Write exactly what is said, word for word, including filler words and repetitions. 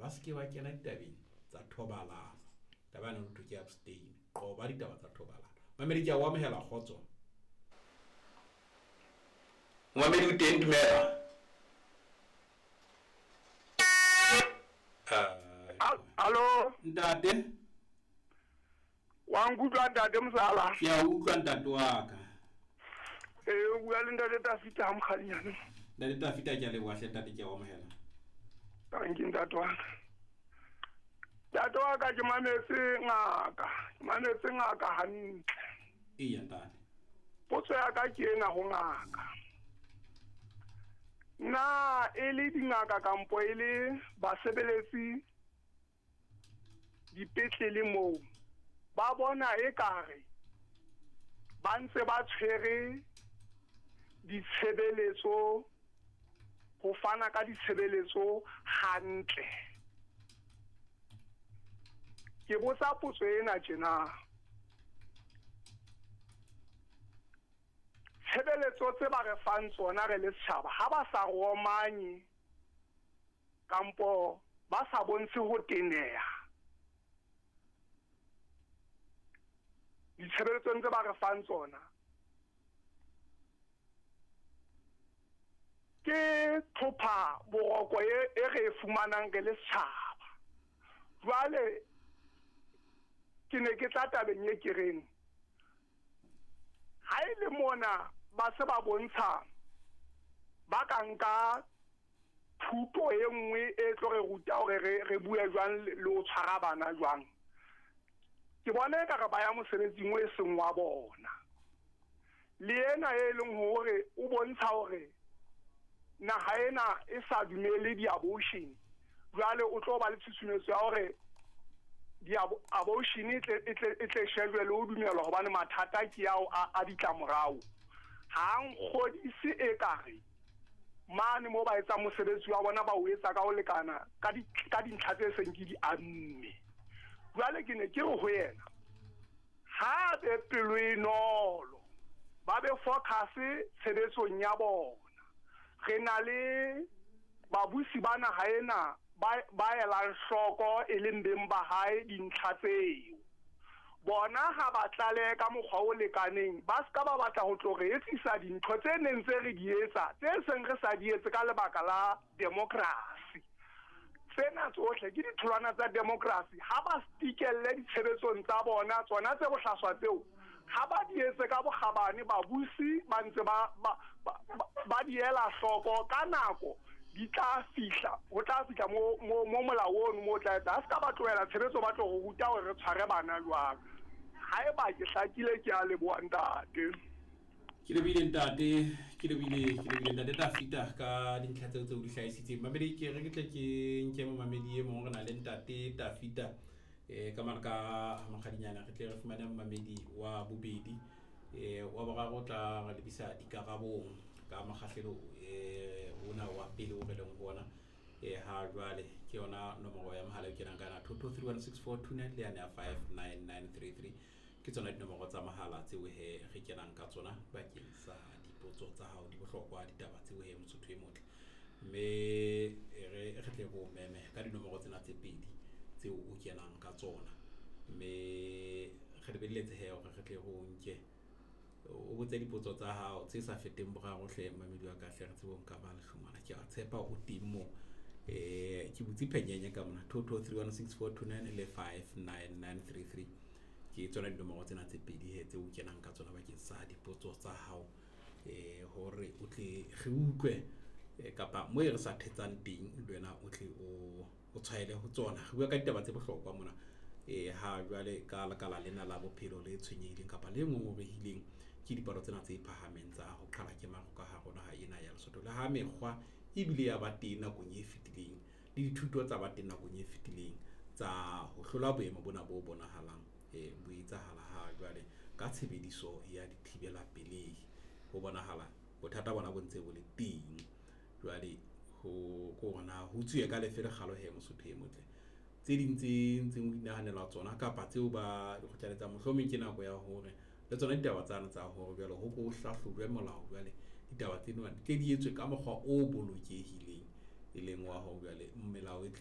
ba se ke ba kena ditabeng tsa thobalano. Taba ena ho thwe ke abstain, qoba ditaba tsa thobalano. Mamedi, ke a o amohela, kgotso. Momamedi o teng, dumela. Hallo. Ntate. Wa nkutlwa, ntate Mosala? Ke a utlwa, ntate wa ka. Ee, o bua le ntate Tafita ha Mokgadinyane. Ntate Tafita, ke a leboha hle, ntate, ke a o amohela. Tanki, ntate wa ka. Ntate wa ka, ke mametse ngaka, ke mametse ngaka hantle. Eya, ntate. Potso ya ka ke ena ho ngaka. Na e le dingaka kampo e le basebeletsi dipetlele moo ba bona ekare ba ntse ba tshwere ditshebeletso, ho fana ka ditshebeletso hantle? Ke botsa potso ena tjena. Tshebeletso tse ba re fang tsona re le setjhaba, ha ba sa romanye kampo ba sa bontshe ho teneha ditshebeletsong tse ba re fang tsona, ke tlhopha boroko e, e re e fumanang re le setjhaba. Jwale ke ne ke tla tabeng e ke reng, ha e le mona ba se ba bontsha ba ka nka thuto e nngwe e tlo re ruta hore re, re bue jwang le ho tshwara bana jwang, ke bona ekare ba ya mosebetsing o e seng wa bona. Le ena e leng hore o bontsha hore naha ena e sa dumele di-abortion, jwale o tlo ba le tshusumetso ya hore di-abortion e tle, e tle, e tle shejwe le ho dumelwa, hobane mathata ke ao a, a ditlamorao. Ha nkgodise ekare mane moo ba etsang mosebetsi wa bona ba o etsa ka ho lekana ka di, ka dintlha tse seng ke di amme. Jwale ke ne ke re ho yena, ha be pelo e nolo, ba be focus tshebetsong ya bona. Re na le babusi ba naha ena ba, ba elang hloko e leng beng ba hae dintlha tseo. Bona ha ba tlalehe ka mokgwa o lekaneng, ba ska ba batla ho tlo re etsisa dintho tse neng tse re di etsa, tse seng re sa di etse ka lebaka la democracy. Tsena tsohle ke ditholwana tsa democracy. Ha ba stikelle ditshebetsong tsa bona, tsona tse bohlaswa tseo, ha ba di etse ka bokgabane, babusi ba ntse ba, ba, ba, ba di ela hloko ka nako, di tla fihla, ho tla fihla mo, mo, mo molao ono mo tla etsa. Ha se ka ba tlohela tshebetso, ba tlo re ruta hore re tshware bana jwang. Haeba ke hlakile, ke a leboha, ntate. Ke lebohile, ntate, ke lebohile, ke lebohile, ntate Tafita ka dintlha tseo tse o di hlahisitseng. Mamedi, ke re ke tle ke nke momamedi e mong, re na le ntate Tafita eh ka mane ka Mokgadinyana, re tle re fumane momamedi wa bobedi, eh wa boraro o tla re lebisa dikarabong ka mokgahlelo eh ona wa pele o re leng ho ona eh ha jwale. Ke yona nomoro ya mohala e kenang ka yona, two two three one six four two nine le yane ya five nine nine three three, ke tsona dinomoro tsa mohala tseo he re kenang ka tsona bakeng sa dipotso tsa hao di bohlokwa, ditaba tseo he Mosotho e motle. Mme re re tle re o meme ka dinomoro tsena tse pedi tseo o kenang ka tsona, mme re lebelletse he hore re tle re o nke o botse dipotso tsa hao tse sa feteng boraro hle, mamedi wa ka hle, re tsebe ho nka ba lehlongwana. Ke a tshepa o teng moo. Eh ke butse phenyenye ka mona, two two three one six four two nine le five nine nine three three, ke tsona dinomoro tsena tse pedi he tse o kenang ka tsona bakeng sa dipotso tsa hao, eh hore o tle re utlwe eh, kapa mo e re sa thetsang teng le wena o tle o, o tshwaele ho tsona. Re bua ka ditaba tse bohlokwa mona eh ha jwale ka lekala lena la bophelo le tshwenyehileng kapa le ngongorehileng ke dipalo tsena tse phahameng tsa ho qhala ke maro ka hare ho naha ena ya Lesotho. Le ha mekgwa ebile ya ba teng nakong e fetileng le dithuto tsa ba teng nakong e fetileng tsa ho hlola boemo bona bo bonahalang eh bo etsahala ha jwale ka tshebediso ya dithibela pelehi, ho bonahala bothata bona bo ntse bo le teng. Jwale ho ko hore na ho tsuwe ka lefe lekgalo he Mosotho e motle, tse ding tse ntseng o inahanelwa tsona kapa tseo ba di kgothaletsang, mohlomong ke nako ya hore le tsona ditaba tsane tsa hore jwale ho ko hlahlojwe molao, jwale ditaba tsena di tle di etswe ka mokgwa o bolokehileng, e leng wa hore jwale melao e tle